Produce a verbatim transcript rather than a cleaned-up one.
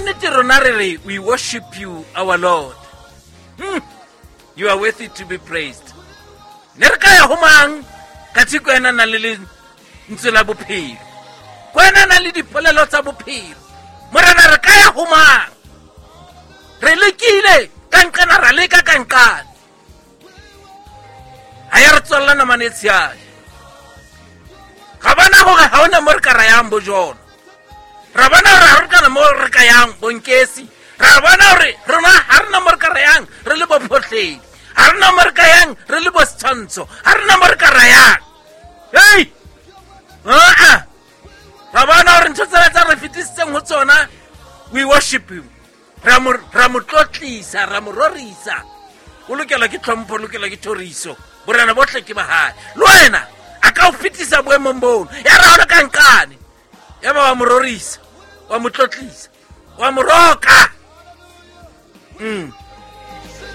nnete rona re re we worship you our Lord. Hmm. You are worthy to be praised. Ne re ka ya ho mang ka tshiko ena na le lentswe la bophelo, ko ena na le dipolelo tsa bophelo. Morena re ka ya ho mang? Re lekile ka nqena, ra leka ka nqane, ha ya re tswella namane e tshehadi. Ga bona hore ha hona mo re ka ra yang bo jona, ra bona hore ha re kana mo re ka yang bonkesi, ra bona hore rona ha rena mo re ka ra yang re le bo phohledi, ha rena mo re ka yang re le bo setshwantsho, ha rena mo re ka ra yang. Hei, aa, ra bona hore ntho tsena tsa re fetisitseng ho tsona, we worship him, ra mo ra mo tlotlisa, ra mo rorisa. O lokela ke tlhompho, o lokela ke thoriso, borena bohle ke ba hae. Le wena a ka o fetisa boemong bono, ya ra hona ka nqane, ya ba wa mo rorisa, wa mo tlotlisa, wa mo roka. Mm.